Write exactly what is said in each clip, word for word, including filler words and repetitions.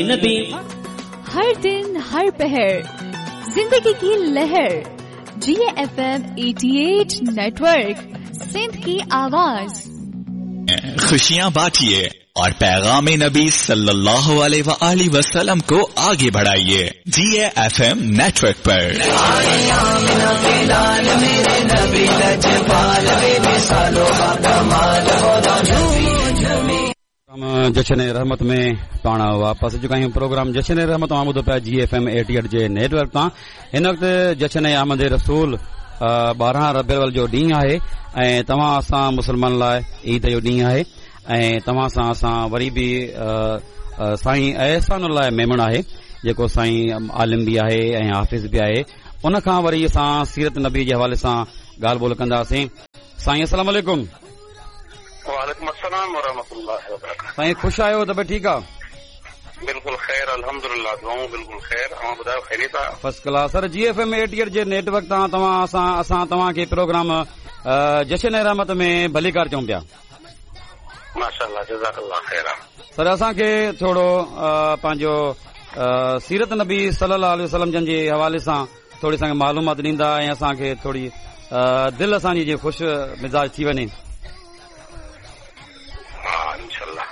नबी। हर दिन हर पहर जिंदगी की लहर, जी एफ एम अठासी नेटवर्क, सिंध की आवाज। खुशियां बांटिए और पैगाम नबी सल्लल्लाहु अलैहि वसल्लम को आगे बढ़ाइए जी एफ एम नेटवर्क पर। जश्न रहमत में पाण वापसि चुका आहियूं। प्रोग्राम जश्न रहमत मां ॿुधो पिया जी एफ एम अठासी जे नेटवर्क तां। हिन वक़्तु जश्न आमद रसूल ॿारहं रबी जो ॾींहुं आहे ऐं तव्हां असां मुस्लमान लाइ ईद जो ॾींहुं आहे ऐं तव्हां सां असां वरी बि साईं एहसानुल्लाह मेमण आहे जेको साईं आलिम बि आहे ऐं हाफ़िज़ बि आहे। उन खां वरी असां सीरत नबी जे हवाले सां ॻाल्हि ॿोल कंदासीं। साईं अस्सलाम वालेकुम। वालेकुम अस्सलाम व रहमतुल्लाहि व बरकातहू। साईं ख़ुशि आहियो? तबियत ठीकु आहे? बिल्कुल ख़ैर अल्हम्दुलिल्लाह, दुआऊं बिल्कुल ख़ैर। अव्हां ॿुधायो ख़ैरियत आहे? First class sir. G F M अठासी जे नेटवर्क तां तव्हां असां असां तव्हांखे प्रोग्राम जश्न रहमत में भलीकार चऊं पिया। माशाअल्लाह, जज़ाकल्लाह ख़ैर। सर असांखे थोरो पंहिंजो सीरत नबी सल्लल्लाहु अलैहि वसल्लम जन जे हवाले सां थोरी असांखे मालूमात ॾींदा ऐं असांखे थोरी दिलि असांजी जीअं ख़ुशि मिज़ाज थी वञे। हा इंशाअल्लाह।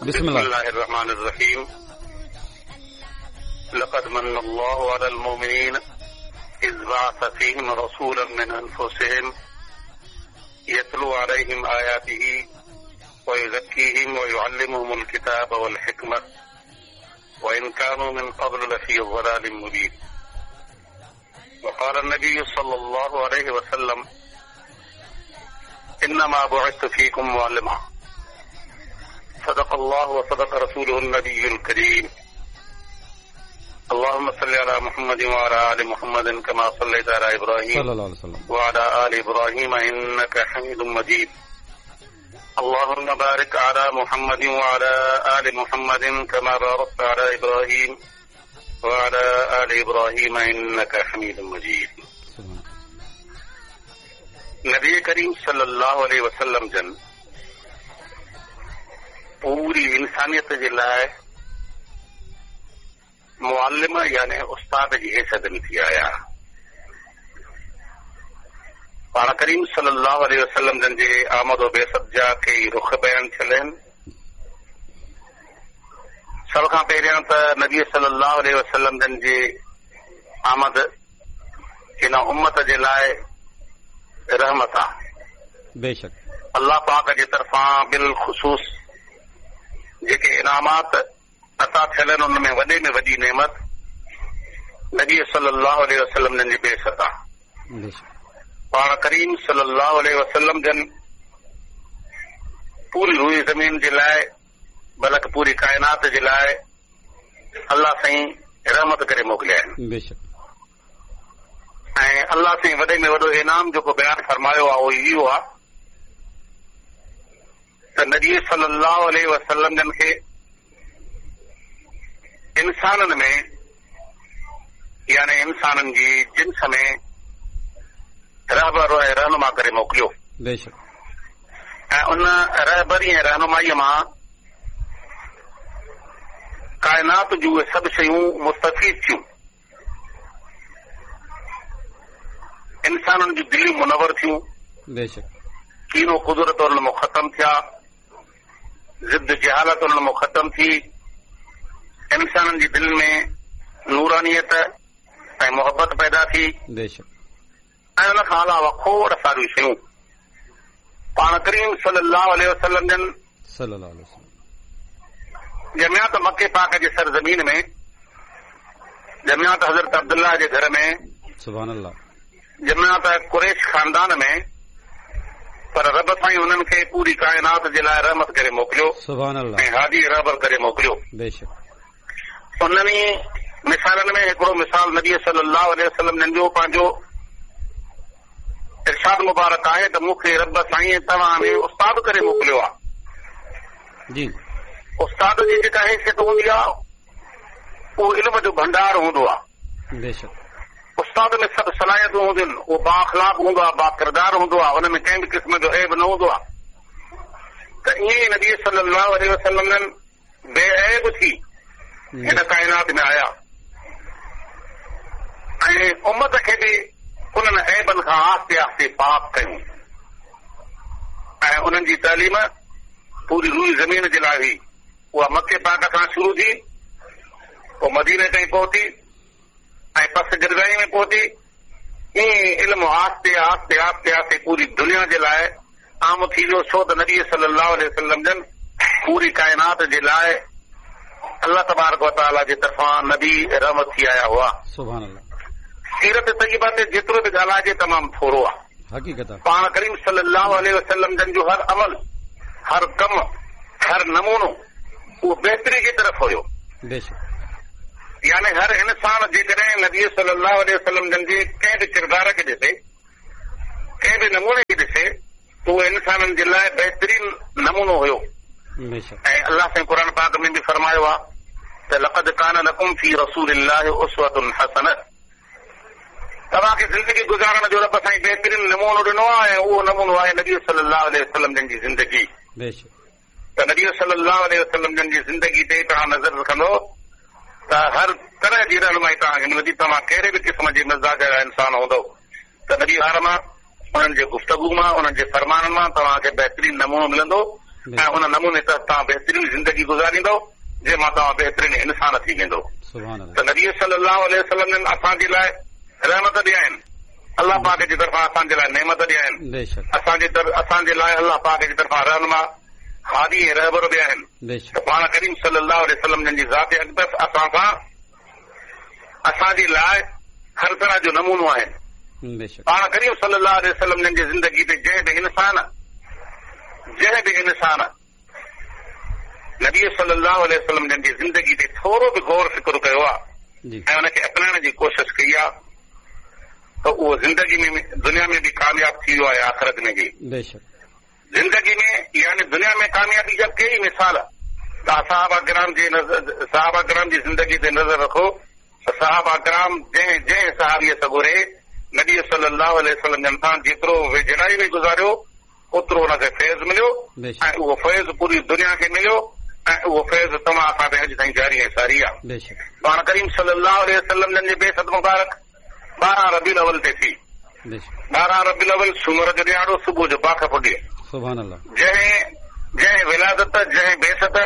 बिस्मिल्लाहिर्रहमानिर्रहीम। लक़द मन्नल्लाहु अलल मुमिनीन is बअस फ़ीहिम रसूलन मिन अनफुसिहिम यतलू अलैहिम आयातिही व युज़क्कीहिम व युअल्लिमुहुमुल किताब वल हिकमत व इन कानू मिन क़ब्ल लफ़ी ज़लालिम मुबीन। वक़ाल नबी सल्लल्लाहु अलैहि वसल्लम इन्नमा बुइस्तु फ़ीकुम मुअल्लिमा। सदक़ल्लाहु व सदक़ रसूलुहुन नबियुल करीम। अल्लाहुम्मा सल्लि अला मुहम्मद व अला आलि मुहम्मद कमा सल्लैता अला इब्राहीम सल्लल्लाहु अलैहि वसल्लम व अला आलि इब्राहीम इन्नका हमीदुम मजीद। अल्लाहुम्मा बारिक अला मुहम्मद व अला आलि मुहम्मद कमा बारकता अला इब्राहीम व अला आलि इब्राहीम इन्नका हमीदुम मजीद। नबी करीम सल्लल्लाहु अलैहि वसल्लम जन पूरी इंसानियत जे लाइ मुअल्लिम यानी उस्ताद जी हैसियत में थी आया। पाण करीम सल्लल्लाहु अलैहि वसल्लम जन जे आमद व बेसत जा कई रुख बयान थियल आहिनि। सभ खां पहिरियां त नबी सल्लल्लाहु अलैहि वसल्लम जन जे आमद हिन उम्मत जे लाइ रहमत आहे। बेशक अल्लाह पाक जे तरफ़ां बिलख़ुसूस जेके इनामात अता थियल आहिनि उन में वॾे में वॾी नेमत नबी सल्लल्लाहु अलैहि वसल्लम जन जी बेसत आहे। पाण करीम सल्लल्लाहु अलैहि वसल्लम जन पूरी रूई ज़मीन जे लाइ बल्कि पूरी काइनात जे लाइ अल्लाह साईं रहमत करे मोकिलिया आहिनि। बेशक ऐं अल्लाह साईं वॾे में वॾो इनाम जेको बयानु फरमायो आहे उहो इहो आहे त नबी सल्लल्लाहु अलैहि वसल्लम जन खे इंसाननि में यानी इंसाननि जी जिन्स में रहबर ऐं रहनुमा करे मोकिलियो। बेशक ऐं उन रहबरी ऐं रहनुमाईअ मां काइनात जूं उहे सभु शयूं मुस्तफ़ीद थियूं। इंसाननि जूं दिलियूं मुनवर थियूं। बेशक कीनो कुदरत उन्हनि मां ख़तम थिया, ज़िद जहालत उन्हनि मां ख़तम थी। इंसाननि जी दिलि में नूरानियत ऐं मोहबत पैदा थी। बेशक ऐं उन खां अलावा खोड़ सारियूं शयूं पाण करीम सल्लल्लाहु अलैहि वसल्लम जन सल्लल्लाहु अलैहि वसल्लम ॼमिया त मके पाक जे सरज़मीन में, ॼमिया त हज़रत अब्दुल्ला जे घर में, सुभान अल्लाह, ॼमिया त कुरैश ख़ानदान में, पर रब साईं उन्हनि खे पूरी काइनात जे लाइ रहमत करे मोकिलियो। सुभान अल्लाह। ऐं हादी रहबर करे मोकिलियो। बेशक उन्हनि मिसालनि में हिकिड़ो मिसाल नबी सल्लल्लाहु अलैहि वसल्लम जन जो पंहिंजो इरशाद मुबारक आहे त मूंखे रब साईं तव्हां में उस्ताद करे मोकिलियो आहे। जी उस्ताद जी जेका हैसियत हूंदी आहे उहो इल्म जो भंडार हूंदो आहे। बेशक उस्ताद में सभु सलाहियतूं हूंदियूं आहिनि, उहो बाअख़लाक़ हूंदो आहे, बाकिरदार हूंदो आहे, उन में कंहिं बि क़िस्म जो ऐब न हूंदो आहे। त ईअं ई नबी सल्लल्लाहु अलैहि वसल्लम जन बेऐब थी हिन काइनात में आया ऐं उम्मत खे बि उन्हनि ऐबनि खां आहिस्ते आहिस्ते पाक कयूं ऐं उन्हनि जी तालीम पूरी रूई ज़मीन जे लाइ हुई। उहा मके पाक खां शुरू थी, पोइ मदीने ताईं पहुती ऐं पस गिरदाई में पहुती। ईअं इल्मु आहिस्ते आहिस्ते आहिस्ते आहिस्ते पूरी दुनिया जे लाइ आम थी वियो। छो त नबी सल्लल्लाहु अलैहि वसल्लम जन पूरी काइनात जे लाइ अल्लाह तबारक व तआला जे तरफ़ां नबी रहमत थी आया हुआ। सुभान अल्लाह। सीरत तय्यबा ते जेतिरो बि ॻाल्हाइजे तमामु थोरो आहे। हक़ीक़त आहे। पाण करीम सल्लल्लाहु अलैहि वसल्लम जन जो हर अमल, हर कम, हर नमूनो उहो बहितरी जी तरफ़ हुयो। यानी हर इंसान जेकॾहिं नबी सल्लल्लाहु अलैहि वसल्लम जन जे कंहिं बि किरदार खे ॾिसे, कंहिं बि नमूने खे ॾिसे, त उहो इंसाननि जे लाइ बहितरीन नमूनो हुयो। ऐं अल्लाह साईं क़ुर पाक में बि फ़रमायो आहे त लक़द कान लकुम फ़ी रसूलिल्लाहि उस्वतुन हसनह, तव्हांखे ज़िंदगी गुज़ारण जो रब साईं बहितरीन नमूनो ॾिनो आहे ऐं उहो नमूनो आहे नबी सल्लल्लाहु अलैहि वसल्लम जन जी ज़िंदगी। त नबी सल्लल्लाहु अलैहि वसल्लम जन जी ज़िंदगी ते तव्हां नज़र रखंदो त हर तरह जी रहनुमाई तव्हांखे मिलंदी। तव्हां कहिड़े बि क़िस्म जे मिज़ाज जा इंसान हूंदव त नबी हार मां, उन्हनि जे गुफ़्तगू मां, उन्हनि जे फरमाननि मां तव्हांखे बहितरीन नमूनो मिलंदो ऐं उन नमूने तहत तव्हां बहितरीन ज़िंदगी गुज़ारींदव जंहिं मां तव्हां बहितरीन इंसान थी वेंदो। त नबी सल्लल्लाहु अलैहि वसल्लम जन असांजे लाइ रहमत बि आहिनि, अल्लाह पाक जी तरफ़ां असांजे लाइ नेमत बि आहिनि, असांजे असांजे लाइ अल्लाह पाक जी तरफ़ां रहनुमा, हादी ऐं रहबर बि आहिनि। त पाण करीम सल्लल्लाहु अलैहि वसल्लम जन जी ज़ात अक़दस असां सां असांजे लाइ हर तरह जो नमूनो आहिनि। पाण करीम सल्लल्लाहु अलैहि वसल्लम जन जी ज़िंदगी ते जंहिं बि इंसान जंहिं बि इंसान नबी सल्लल्लाहु अलैहि वसल्लम जन जी ज़िंदगी ते थोरो बि गौर फ़िक्र कयो आहे ऐं हुनखे अपनाइण जी कोशिश कई आहे त उहो ज़िंदगी में दुनिया में बि कामयाब थी वियो आहे, आख़िरत में बि। ज़िंदगी में यानी दुनिया में कामयाबी जा कई मिसाल। तव्हां साहबा कराम जे साहबा कराम जी ज़िंदगी ते नज़र रखो त साहबा कराम जंहिं जंहिं सहाबीअ सगोरे नबी सल्लल्लाहु अलैहि वसल्लम जन सां जेतिरो वेझड़ाई में गुज़ारियो ओतिरो हुनखे फैज़ मिलियो ऐं उहो फैज़ पूरी दुनिया खे मिलियो ऐं उहो फैज़ तव्हां असां ते अॼु ताईं जारी ऐं सारी आहे। पाण करीम सल्लल्लाहु अलैहि वसल्लम जन जी बेसत मुबारक ॿारहं रबी अव्वल ते थी। ॿारहं रबी अव्वल सूमर जो ॾिहाड़ो, सुबुह जो बाख फुटी। जंहिं जंहिं विलादत, जंहिं बेसत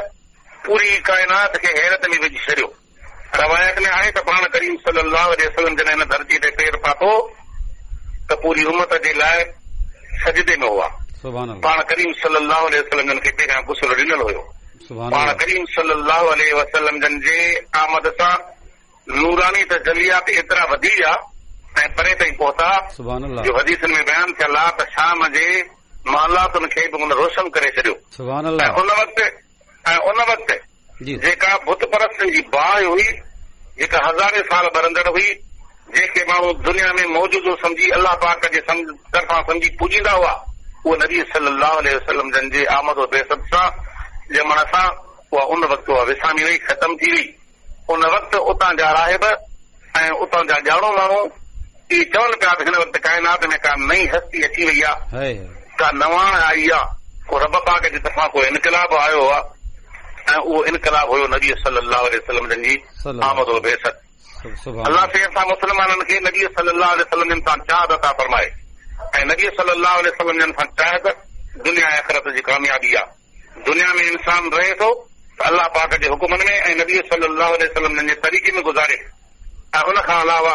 पूरी काइनात खे हैरत में विझी छॾियो। रवायत में आहे त पाण करीम सल्लल्लाहु अलैहि वसल्लम जॾहिं हिन धरती ते पेर पातो त पूरी उम्मत जे लाइ सजदे में हुआ। पाण करीम सल्लल्लाहु अलैहि वसल्लम जन खे पहिरियां गुसल ॾिनल हुयो। पाण करीम सल्लल्लाहु अलैहि वसल्लम जन जे आमद सां नूरानी तजलियात एतिरा वधी विया ऐं परे ताईं पहुता जो हदीसनि में बयानु थियल आहे त शाम जे मालातुनि खे बि हुन रोशन करे छॾियो। ऐं उन वक़्तु ऐं उन वक़्तु जेका बुत परस्तनि जी बाहि हुई, जेका हज़ारे साल ॿरंदड़ हुई, जंहिंखे माण्हू दुनिया में मौजूदो सम्झी अल्लाह पाक जे तरफ़ां सम्झी पूजींदा हुआ, उहो नबी सल्लल्लाहु अलैहि वसल्लम जन जे आमद बेसत सां ॼमण सां उहा उन वक़्तु उहा विसामी वई, ख़तम थी वई। उन वक़्तु उतां जा राहिब ऐं उतां जा ॼाणो माण्हू इहे चवनि पिया त हिन वक़्तु काइनात में का नई हस्ती अची वई आहे, का नवाण आई आहे, को रब पाक जी तरफ़ां को इनकलाब आयो आहे ऐं उहो इनकलाब हुयो नबी सल्लल्लाहु अलैहि वसल्लम जन जी आमद बेसत। अल्लाह साईं असां मुस्लमाननि खे नबी सल्लल्लाहु अलैहि वसल्लम जन सां चाहत अता फरमाए ऐं नबी सल्लल्लाहु अलैहि वसल्लम जन सां चाहत दुनिया ऐं आख़िरत जी कामयाबी आहे। दुनिया में इंसान रहे थो त अल्लाह पाक जे हुकुमनि में ऐं नबी सल्लल्लाहु अलैहि वसल्लम जन जे तरीक़े में गुज़ारे ऐं उन खां अलावा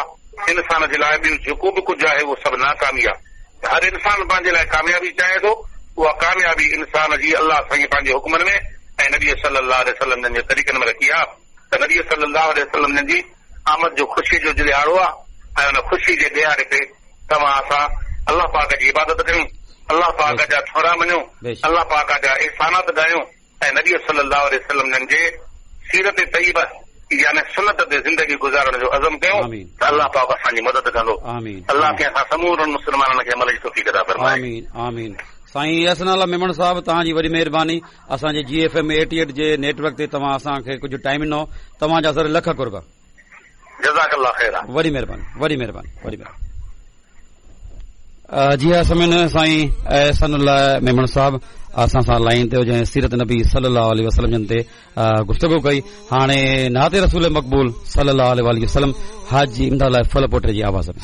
इंसान जे लाइ ॿियो जेको बि कुझु आहे उहो सभु नाकामी आहे। हर इंसान पंहिंजे लाइ कामयाबी चाहे थो, उहा कामयाबी इंसान जी अल्लाह साईं पंहिंजे हुकुमनि में ऐं नबी सल्लल्लाहु अलैहि वसल्लम जन जे तरीक़नि में रखी आहे। त नबी सल्लल्लाहु अलैहि वसल्लम जन जी आमद जो ख़ुशी जो ॾिहाड़ो आहे ऐं उन ख़ुशी जे ॾिहाड़े ते तव्हां असां अल्लाह पाक जी इबादत कयूं, अल्लाह पाक जा थोरा मञूं, अल्लाह पाक जा एहसानात ॻायूं ऐं नबी सल्लल्लाहु अलैहि वसल्लम जन जे सीरत तय्यबा यानी सुन्नत ते ज़िंदगी गुज़ारण जो अज़म कयूं त अल्लाह पाक असांजी मदद कंदो। अल्लाह खे असां समूरनि मुस्लमाननि खे अमल जी तौफ़ीक़ अता फरमाए। आमीन आमीन। साईं अहसन मेमण साहब, तव्हांजी वॾी महिरबानी। असांजे जी एफ एम एटी एट जे नेटवर्क ते तव्हां असांखे कुझु टाइम ॾिनो, तव्हांजा सर लख क़ुर्ब। जज़ाकल्लाह ख़ैर। वॾी महिरबानी, वॾी महिरबानी, वॾी महिरबानी। जी हा समिन साईं एहसानुल्लाह मेमण साहब असां सां लाइन ते जंहिं सीरत नबी सल्लल्लाहु अलैहि वसल्लम जन ते गुफ्तगू कई। हाणे नाते रसूल मकबूल सल्लल्लाहु अलैहि वसल्लम हाजी इमदाद फल पोटे जी आवाज़ में।